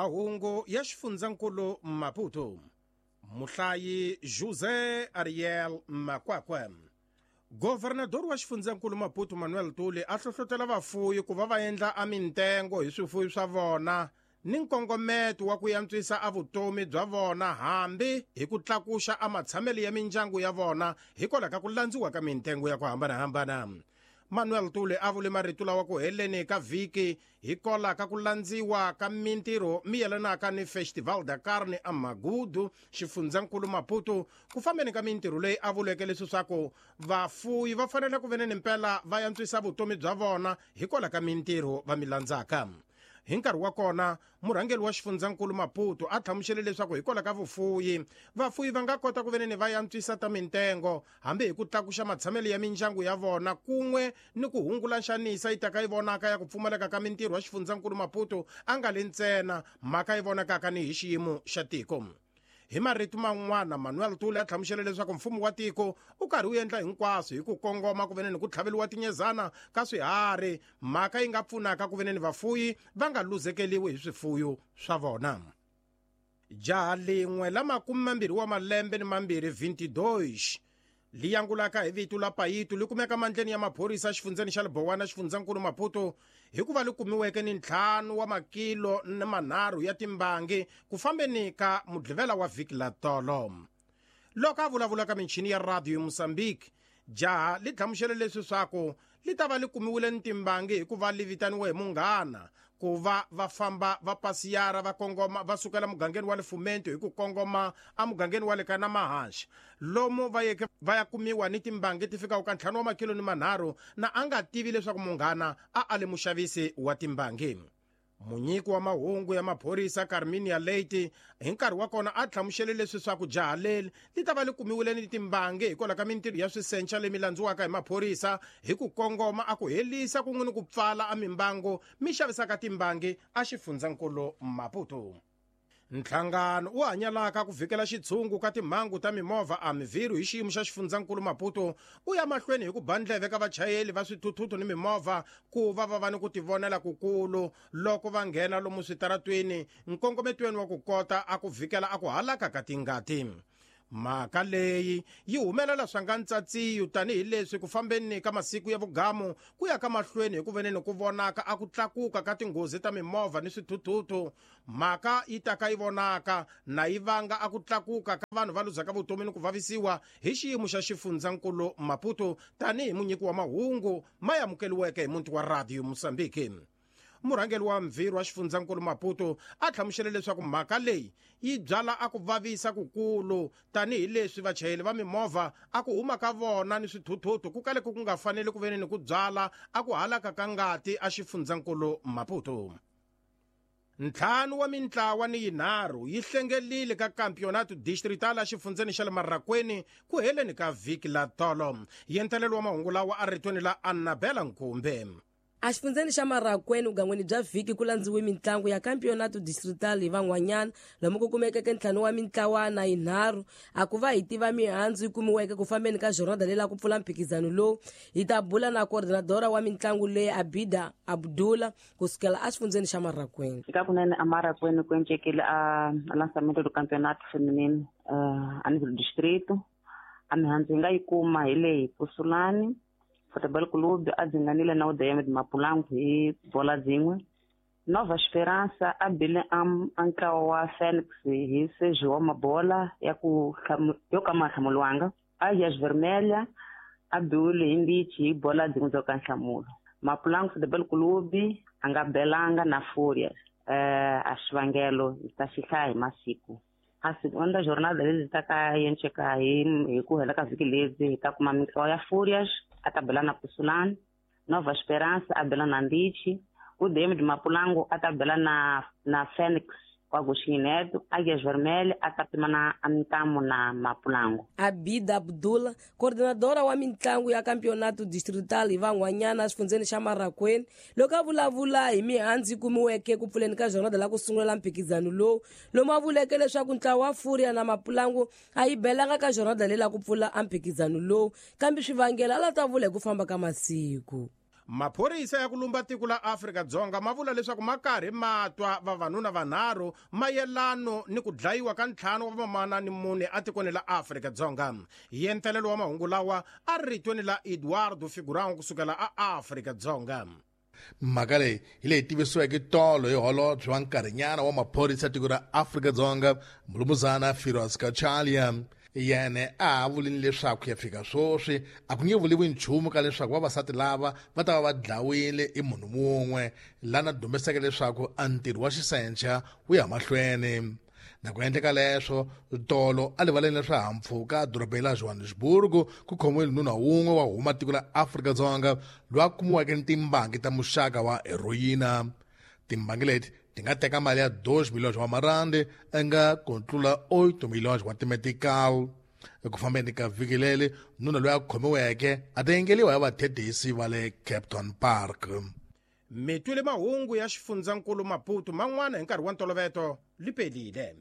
Mahungu ya xifundzankulu Maputo. Muhlayi José Ariel Makwakwa. Governador wa xifundzankulu Maputo Manuel Tuli a hlohlotela vafuyi ku va va endla a mintengo hi swifuyi swa vona ni nkongometo wa ku yantswisa a vutomi bya vona hambi hi ku tlakuxa a matshamelo ya mindyangu ya vona hikwalaho ka ku landziwa ka mintengo ya ku hambanahambana. Manuel Tuli a vule marito lawa ku heleni ka vhiki hikwalaho ka ku landziwa ka mintirho mi yelanaka ni Festival da Carne a Magudu xifundzankulu Maputo. Ku fambeni ka mintirho leyi a vuleke leswi swa ku vafuyi va fanele ku veneni mpela va yantswisa vutomi bya vona hikwalaho ka mintirho va mi landzaka. Hi nkarhi wa kona murhangeri wa xifundzankulu Maputo a hlamusele leswaku hikwalaho ka vufuyi vafuyi va nga kota ku veneni va yantswisa ta mintengo hambi hi ku tlakuxa matshamelo ya mindyangu ya vona kun'we ni ku hungula nxanisa yi taka yi vonaka ya ku pfumaleka ka mintirho ya xifundzankulu Maputo a nga le ntsena mhaka yi vonakaka ni hi xiyimo xa tiko. Hi marito man'wana Manuel Tuli a hlamusele leswaku mfumo wa tiko u karhi wu endla hinkwaswo hi ku kongoma ku veneni ku tlhaveliwa tinyezana ka swiharhi mhaka yi nga pfunaka ku veneni vafuyi va nga luzekeliwi hi swifuyo swa vona. Jaha lin'we la 22 wa malembe ni mambirhi 22 li yangulaka hi vito la Payito li kumeka mandleni ya maphorisa xifundzeni xa Libowana xifundzankulu Maputo hikuva li kumiweke ni 5 wa makilo ni manharhu ya timbangi ku fambeni ka mudlivela wa vhiki la tolo. Loko a vulavula ka michini ya radio Mozambique, jaha li hlamusele leswi swaku li ta va li kumiwile ni timbangi hikuva li vitaniwe hi munghana ku va va famba va pasiyara va kongoma va sukela mugangeni wa le Fumento hi ku kongoma emugangeni wa le ka Namahaxa lomu va yeke va ya kumiwa ni timbangi ti fikaka ka 5 wa makilo ni manharhu na a nga tivi leswaku munghana a a le muxavisi wa timbangi. Munyiki wa mahungu ya maphorisa Carminia Leite hi nkarhi wa kona a hlamusele leswi swa ku jaha leri li ta va li kumiwile ni timbangi hikwalaho ka mintirho ya swisenca lemi landziwaka hi maphorisa hi ku kongoma a ku helisa kun'we ni ku pfala a mimbango mi xavisaka timbangi a xifundzankulu Maputo. Nhlangano wu hanyalaka ku vhikela xitshungu ka timhangu ta mimovha a mivhiru hi xiyimo xa xifundzankulu Maputo u ya mahlweni hi ku ba ndleve ka vachayeli va swithuthuthu ni mimovha ku va va va ni ku tivonela kukulu loko va nghena lomu switaratweni nkongometweni wa ku kota a ku vhikela a ku halaka ka tingati. Mhaka leyi yi humelela swa nga ntsatsiyo tanihileswi ku fambeni ka masiku ya vugamu ku ya ka mahlweni hi ku veneni ku vonaka a ku tlakuka ka tinghozi ta mimovha ni swithuthuthu. Mhaka yi taka yi vonaka na yi vanga a ku tlakuka ka vanhu va luzaka vutomi ni ku vavisiwa hi xiyimo xa xifundzankulu Maputo tanihi munyiki wa mahungu ma amukeliweke hi muti wa Radio Mozambique. Murhangeri wa mvhirhu wa xifundzankulu Maputo a hlamusele leswaku mhaka leyi yi byala a ku vavisa kukulu tanihileswi vachayeri va mimovha a ku huma ka vona ni swithuthuthu ku kale ku nga faneli ku veni ni ku byala a ku halaka ka ngati a xifundzankulu Maputo. 5 wa mintlawa ni yinharhu yi hlengelile ka Campeonato Distrital a xifundzeni xa le Marrakweni ku heleni ka vhiki la tolo. Yentelelo wa mahungu lawa a ritweni la Annabella Nkumbe. A xifundzeni xa Marrakweni vugangweni bya vhiki ku landziwe mintlangu ya Campeonato Distrital hi van'wanyana lomu ku kumekeke 5 wa mintlawa na yinharhu. A ku va hi tiva mihandzu yi kumiweke ku fambeni ka jornada leyi la ku pfula mphikizano lowu. Hi ta bula na coordinadora wa mintlangu leyi Abida Abdullah kusukela a xifundzeni xa Marrakweni. Eka kunene a Marrakweni ku endlekile a lançamento do Campeonato Feminino a nível distrito. A mihandzu hi nga yi kuma hi leyi Pusulani Futebol Clube a dzinganile na UDM de Mapulango hi bola dzin'we. Nova Esperança a bile a ntlawa wa Phoenix hi Sergio wa mabola ya ku yo ka ma hlamuriwanga. Águias Vermelha a biwile hi Mbichi hi bola dzin'we byo ka nhlamulo. Mapulango Futebol Clube a nga belanga na Fúria. A xivangelo hi ta xi hlaya hi masiku. A segunda jornada lezi ta ka yenceka hi ku hela ka vhiki lezi hi ta kuma mintlawa ya Fúrias a ta bela na Pusulani, Nova Esperança a bela na Mbichi, UDM de Mapulango a ta bela na Phoenix wa Agostinho Neto, Águias Vermelhas a ta pima na Amintamo na Mapulango. Abida Abdullah, coordinadora wa mintlangu ya Campeonato Distrital hi van'wanyana xifundzeni xa Marrakweni, loko a vulavula hi mihandzu yi kumiweke ku pfuleni ka jornada la ku sungula mphikizano lowu, lomu a vuleke leswaku ntlawa wa Fúria na Mapulango a yi belanga ka jornada leyi la ku pfula a mphikizano lowu, kambe swivangelo a la ta vula hi ku famba ka masiku. Maphorisa ya ku lumba tiko la Afrika-Dzonga ma vula leswaku ma karhi ma twa vavanuna vanharhu mayelano ni ku dlayiwa ka 5 wa vamana ni 4 etikweni la Afrika-Dzonga. Yentelelo wa mahungu lawa a ritweni la Eduardo Figurão kusukela a Afrika-Dzonga. Mhaka leyi hi leyi tivisiweke tolo hi holobye wa nkarhinyana wa maphorisa ya tiko ra Afrika-Dzonga Mulumuzana Firoz Cachalia. Yena a ha vulini leswaku ya fika sweswi a ku nge vuliwi nchumu ka leswaku vavasati lava va ta va va dlawile i munhu wun'we, lana dumiseke leswaku a ntirho wa xisencha wu ya mahlweni. Na ku endleka leswo, tolo a rivaleni la swihahampfhuka edorobeni la Johannesburg ku khomiwile nuna wun'we wa huma tiko la Afrika-Dzonga loyi a kumiweke ni timbangi ta muxaka wa heroyina. Timbangi leti ti nga teka mali ya 2 milhões wa marandi nga ku tlula 8 milhões wa timetical. Eku fambeni ka vhiki leri, nuna loyi a khomiweke a ta yengeliwa hi vathethisi va le Kempton Park. Mi twile mahungu ya xifundzankulu Maputo man'wana hi nkarhi wa ntoloveto lipelile.